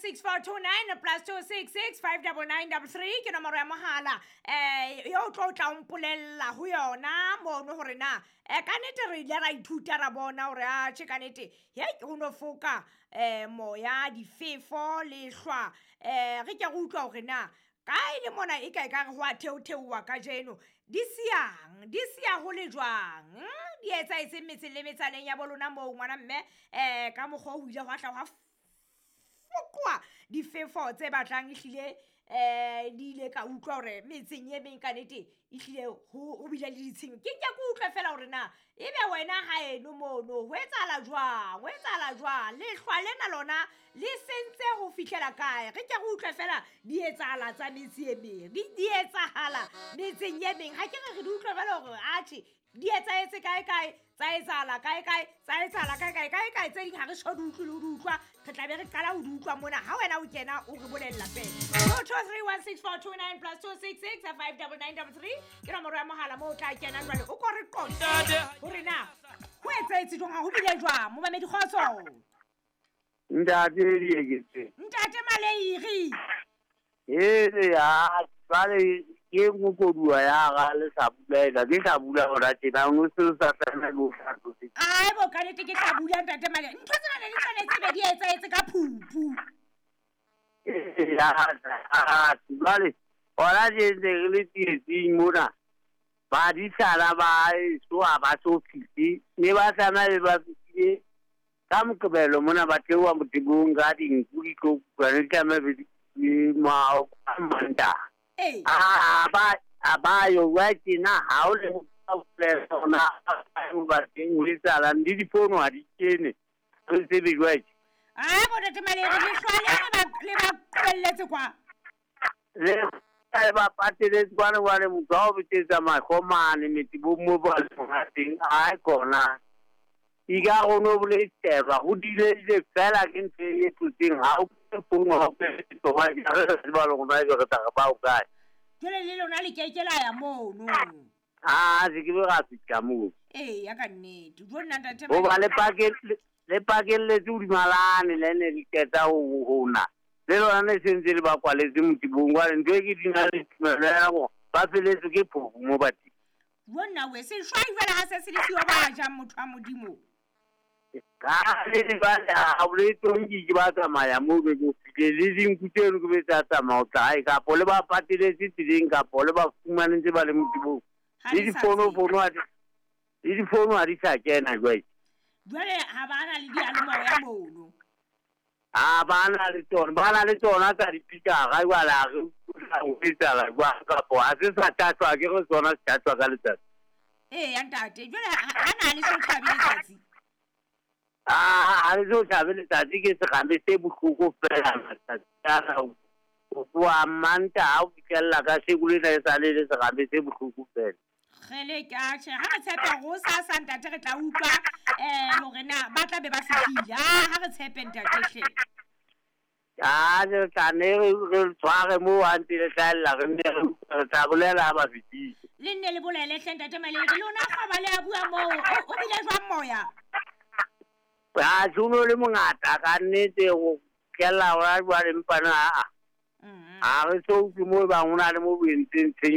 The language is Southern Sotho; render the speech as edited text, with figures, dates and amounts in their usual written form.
16429 plus 266 59933 ke nomoro ya mohala yo o tlo tla o mpolella ho yona mono hore na ka nnete re ile ra ithuta ra bona hore atjhe ka nnete he ke ho no foka moya difefo lehlwa re ke re utlwa hore na kae le mona e ka e ka re ho a theotheowa kajeno di siyang di siya ho le jwang di etsahetseng metseng le metsaneng ya bo lona moo ngwana mme ka mokgwa o ile hwa hla hwa foqoa difefo tse batlang ehlile di ile ka utlwa hore metseng e meng ka nnete ehlile ho bile le ditshenyo. Ke nke ke utlwe fela hore na ebe wena haeno mono ho etsahala jwang, ho etsahala jwang, lehlwa lena lona le sentse ho fihlela kae. Re ke re utlwe fela di etsahala tsa metse e meng, di etsahala metseng e meng. Ha ke re re di utlwe fela hore atjhe di etsahetse kae kae, tsa etsahala kae kae, tsa etsahala kae kae, kae kae tse ding ha re so di utlwe le ho di utlwa, re tla be re qala ho di utlwa mona ha wena o kena o re bolella fela. 02316429 plus 266 59933 ke nomoro ya mohala moo o tla kena jwale o ko re qoqe hore na ho etsahetse jwang, ha ho bile jwang. Momamedi kgotso. Ntate Dieketse. Ntate Maleiri. Hele ya jwale ke nngwe koduwa ya ga le sa bula ke sa bula hona tjena o se sa tlameha le ho hlahlose. Ai bo ka nnete ke tla bula ntate Maleiri. Ntho tsena ne di tshwanetse be di etsahetse ka phupu. Ya jwale hona tje ntse re le tsietsing mona. Badisana ba eso ha ba so fihle ne ba tlameha be ba fihlile ka Moqebelo mona ba theoha motebong ka dinku di tlo kuka ne di tlameha be di Mantaha. A ba yo wa tjena ha o le ona ba teng ho etsahalang le difono ha di kene re tsebe jwale. Ai bo ntate Maleiri lehlwa le ba qobelletse kwa. Le ba pateletse kwana jwale motho ha o betsetsa mahlo mane metebong moo ba leng teng ai kona. Ika go no boletswa go dileile fela ke ntho e tlotseng ha o fono ha o tlo ba ke ba lo rona re tla ba o kae. Jwale le lona le keke la ya mono. Ah se ke be ra fihla moo. Ee ya ka nnete. Jo nna ntate Ho ba le pakelletse hodima le ne le qeta ho hona. Le lona ne sentse le ba kwaletse motibong jwale ntho e ke di na le tumelo ya hore ba feletse ke phofu mo bateng. Jo nna we se shwai jwale ha se se le siyo ba jang motho wa Modimo. Ka le jwale ha o le tonki ke ba tsamaya moo be ke fihle le dinku tseno ke be tsa tsamaya o tla hae kapo le ba pateletse tseleng kapo le ba fumane ntse ba le motibong. Le difono ha di le difono ha di sa kena jwale. Jwale ha ba na le diyalemoya mono. Ha ba na le tsona, ba na le tsona tsa dipikara jwale ha re ho etsahala jwang kapo ha se sa tlatswa ke re tsona se tlatswa ka letsatsi. Ee ya ntate, jwale ha na le so tjhabe letsatsi. Ha le so tjhabe letsatsi ke serame se bohloko fela matsatsi ana ho tloha Mantaha ho fihlella ka sheko lena e sale le serame se bohloko fela. Kgele ke atjhe ha re tshepe hore hosasa ntate re tla utlwa hore na ba tla be ba fihlile. Ha re tshepe ntate hle. Ah re tla ne re tshware moo ha ntse le hlahella re nne re tla bolela ha ba fihlile. Le nne le bolele hle ntate Maleiri lona kgwaba le a bua moo o bile jwang moya? Ha tsuno le mongata ka nnete ho kella hona jwale empa na ha re so utlwe moo bang ho na le mo bo entseng tshenyo.